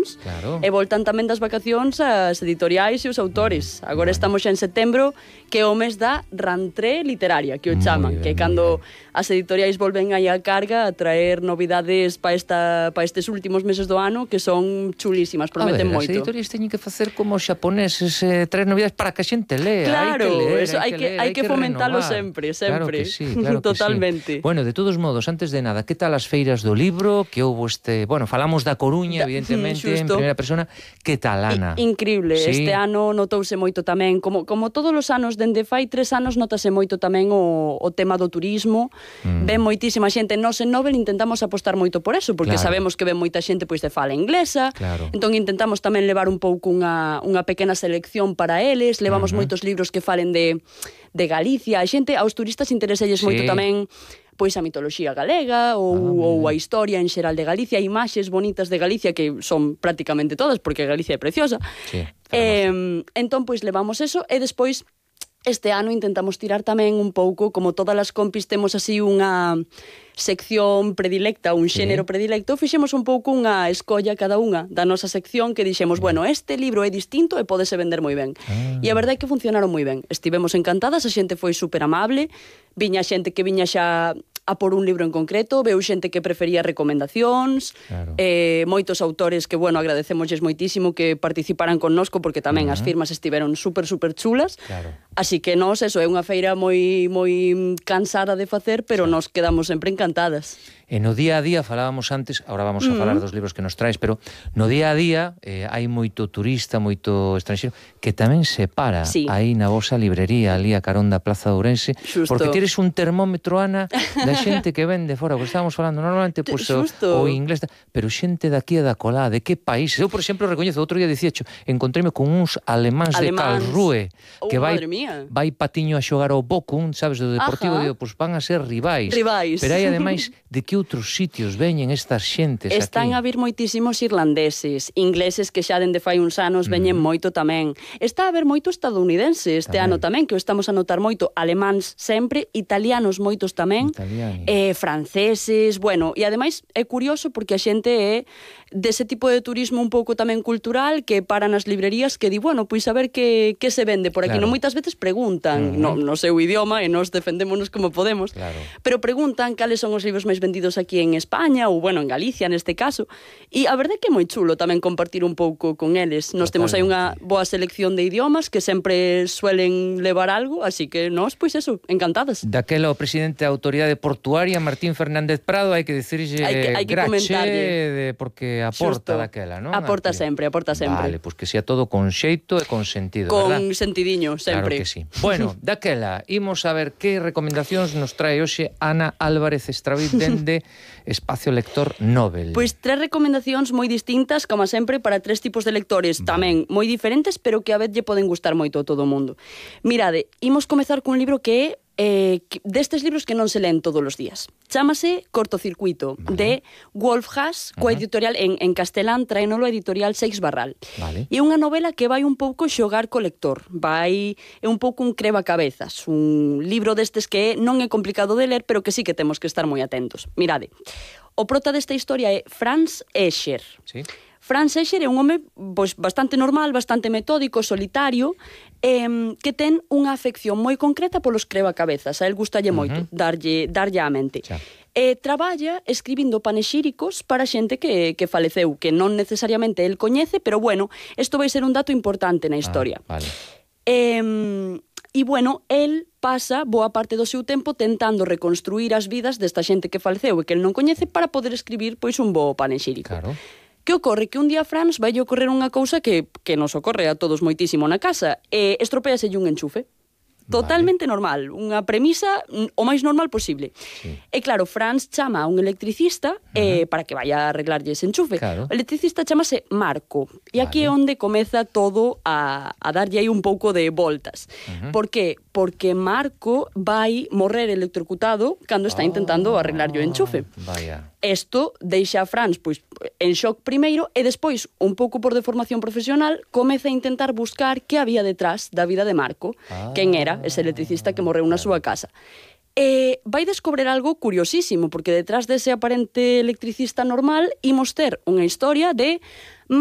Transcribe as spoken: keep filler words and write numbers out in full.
vacacións, claro. e voltan tamén das vacacións as editoriais e os autores. Agora bueno. estamos xa en setembro, que é o mes da rentrée literaria, que o chaman, ben, que cando as editoriais volven aí a carga a traer novidades para esta para estes últimos meses do ano, que son chulísimas, prometen a ver, moito. As editoriais teñen que facer como os xaponeses, eh, traer novidades para que a xente lea. Claro, hai que ler, eso, hai hai que, que, ler, hai hai que que fomentalo renovar. sempre, sempre. Claro que sí, claro que Totalmente. sí. Bueno, de todos modos, antes de nada, que tal as feiras do libro? Que houbo este... Bueno, falamos da Coruña, da, evidentemente, en primeira persona. Que tal, Ana? I, increíble. ¿Sí? Este ano notouse moito tamén, como, como todos os anos, dende fai tres anos, notase moito tamén o, o tema do turismo. Mm. Ven moitísima xente. Nos en Nobel intentamos apostar moito por eso, porque claro. sabemos que ven moita xente pois de fala inglesa. Claro. Entón intentamos tamén levar un pouco unha, unha pequena selección para eles. Levamos uh-huh. moitos libros que falen de, de Galicia. A xente, aos turistas intereselles sí. moito tamén pois a mitoloxía galega ou, ah, ou a historia en xeral de Galicia, imaxes bonitas de Galicia que son prácticamente todas, porque Galicia é preciosa. Sí, eh, entón, pois levamos eso e despois este ano intentamos tirar tamén un pouco, como todas as compis temos así unha sección predilecta, un xénero sí. predilecto, fixemos un pouco unha escolla cada unha da nosa sección que dixemos, sí. bueno, este libro é distinto e pódese vender moi ben. Ah. E a verdade é que funcionaron moi ben. Estivemos encantadas, a xente foi super amable, viña xente que viña xa a por un libro en concreto, veu xente que prefería recomendacións, claro. eh, moitos autores que, bueno, agradecemosles moitísimo que participaran connosco, porque tamén uh-huh. as firmas estiveron super, super chulas. Claro. Así que nos, eso, é unha feira moi moi cansada de facer, pero sí. nos quedamos sempre encantadas. E no día a día, falábamos antes, agora vamos a uh-huh. falar dos libros que nos traes, pero no día a día eh, hai moito turista, moito estranxeiro, que tamén se para sí. aí na vosa librería, ali a carón da Plaza de Ourense, Xusto. Porque tires un termómetro, Ana, da xente que vende fora, porque estábamos falando normalmente pues, o, o inglés, pero xente daqui e da colá, de que países? Eu, por exemplo, recoñezo, outro día dixecho, encontréme con uns alemáns, alemáns. de Karlsruhe, oh, que vai, mía. vai patiño a xogar ao Bochum, sabes, do Deportivo, digo, pues van a ser rivais. Rivais. Pero hai, ademais, de que outros sitios veñen estas xentes Están aquí? a vir moitísimos irlandeses, ingleses que xa dende fai uns anos veñen mm. moito tamén. Está a haber moito estadounidense este tamén. ano tamén, que o estamos a notar moito, alemáns sempre, italianos moitos tamén, eh, franceses, bueno, e ademais é curioso porque a xente é dese tipo de turismo un pouco tamén cultural que para nas librerías que di, bueno, pois a ver que, que se vende por aquí. Claro. Non moitas veces preguntan, uh-huh. no, no seu idioma, e nos defendémonos como podemos, claro. pero preguntan cales son os libros máis vendidos aquí en España, ou, bueno, en Galicia neste caso, e a verdade é que é moi chulo tamén compartir un pouco con eles. Nos temos aí unha boa selección de idiomas que sempre suelen levar algo, así que nós, pois eso, encantadas. Daquela o presidente da Autoridade Portuaria, Martín Fernández Prado, hai que dicirlle grache, de, porque aporta Xusto. daquela, non? Aporta Aquí. sempre, aporta sempre. Vale, pois pues que sea todo con xeito e con sentido, con verdad? Con sentidiño, sempre. Claro que sí. Bueno, daquela, imos a ver que recomendacións nos trae hoxe Ana Álvarez Estraviz dende Espacio Lector Nobel. Pois tres recomendacións moi distintas, como sempre, para tres tipos de lectores, vale. tamén moi diferentes, pero que a vez lle poden gustar moito a todo o mundo. Mirade, imos comezar cun libro que é Eh, destes libros que non se leen todos os días. Chámase Cortocircuito, vale. de Wolf Haas, coa editorial en, en castelán, traenolo a editorial Seix Barral. Vale. E é unha novela que vai un pouco xogar co lector, vai é un pouco un crevacabezas, un libro destes que non é complicado de ler, pero que sí que temos que estar moi atentos. Mirade, o prota desta historia é Franz Escher. Sí. Franz Escher é un home pois, bastante normal, bastante metódico, solitario, eh, que ten unha afección moi concreta polos crevacabezas. A él gustalle uh-huh. moito darlle, darlle á mente. Xa. E traballa escribindo panexíricos para xente que, que faleceu, que non necesariamente el coñece, pero bueno, isto vai ser un dato importante na historia. Ah, vale. E, e bueno, el pasa boa parte do seu tempo tentando reconstruir as vidas desta xente que faleceu e que el non coñece para poder escribir pois un bo panexírico. Claro. Que ocorre? Que un día a Franz vai ocorrer unha cousa que, que nos ocorre a todos moitísimo na casa, e estropeaselle un enchufe. Totalmente vale. normal, unha premisa o máis normal posible. Sí. E claro, Franz chama a un electricista uh-huh. eh, para que vaya a arreglarlle ese enchufe. Claro. O electricista chamase Marco. E aquí vale. é onde comeza todo a, a darlle aí un pouco de voltas. Uh-huh. Por que? Porque Marco vai morrer electrocutado cando está intentando oh, arreglarlle o enchufe. Vaya. Isto deixa a Franz pois, en shock primeiro e despois, un pouco por deformación profesional, comeza a intentar buscar que había detrás da vida de Marco, ah, quen era ese electricista que morreu na súa casa. E vai descobrir algo curiosísimo, porque detrás dese aparente electricista normal imos ter unha historia de